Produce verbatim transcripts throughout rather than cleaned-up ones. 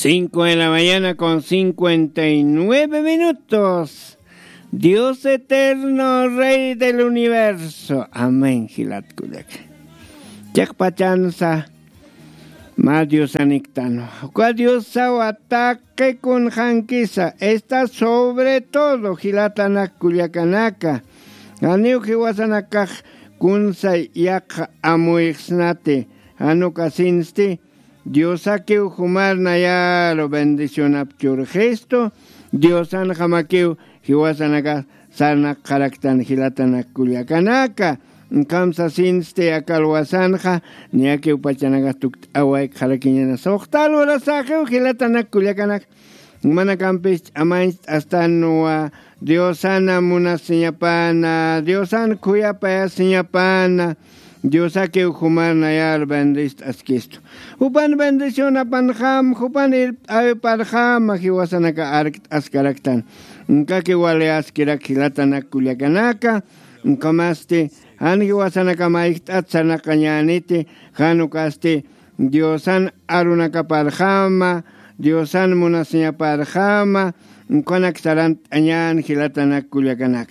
Cinco de la mañana con cincuenta y nueve minutos. Dios eterno, Rey del universo. Amén, jilat kullaka. Chiqpachansa, mä Diosaniktan. Uka Diosawa taqi kunxankisa, está sobre todo, jilatanak kullakanaka. Janiw jiwasanakax kunsay yaqha amuyxsnati, jan ukasinsti, Diosakiw jumar nayaru bendicionap churxistu, Diosanxamakiw jiwasanakax sarnaqxaraktan jilatanak kullakanaka. Ukham sasinsti aka alwasanxa, niyakiw pachanakax tukt'awaykxarakiñana suxta lurasaxiw jilatanak kullakanak. Jumanakampis ch'amañcht'astanwa, Diosana munasiñapana, Diosan khuyapayasiñapana, Diosakiw jumar nayar bendist'askistu. Jupan bendicionapanxam, jupan irpt'awiparxama jiwasanaka arkt'askaraktan. Ukakiw wali askirak jilatanak kullakanaka, ukamasti, jan jiwasanaka mayjt'at sarnaqañäniti, jan ukasti, Diosan arunakaparxama, Diosan munasiñaparxama, ukanak sarant'añän jilatanak kullakanak.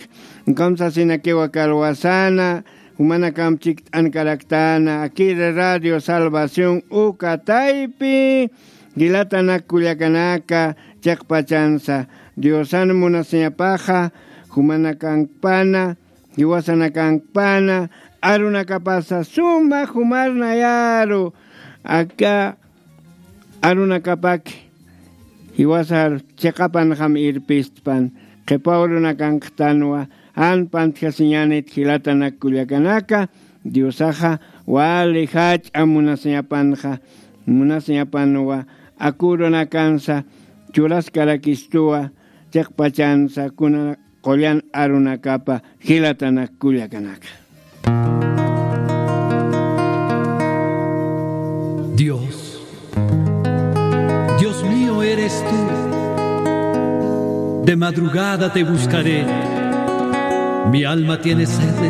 Ukham sasinakiw aka alwasana, jumanakamp chikt'ankaraktana, akiri Radio Salvación uka taypi, jilatanak kullakanaka, chiqpachansa, Diosan munasiñapaxa, jumanakankpana, jiwasanakankpana, arunakapasa suma jumar nayaru, aka arunakapaki, jiwasar chiqapanxam irpistpan, qhipa urunakanktanwa, jan pantjasiñänit jilatanak kullakanaka, Diosaxa wali jach'a munasiñapanxa, munasiñapanwa, aka urunakansa, churaskarakistuwa, chiqpachansa, kuna qullan arunakapa jilatanak kullakanaka. Dios, Dios mío eres tú. De madrugada te buscaré. Mi alma tiene sed de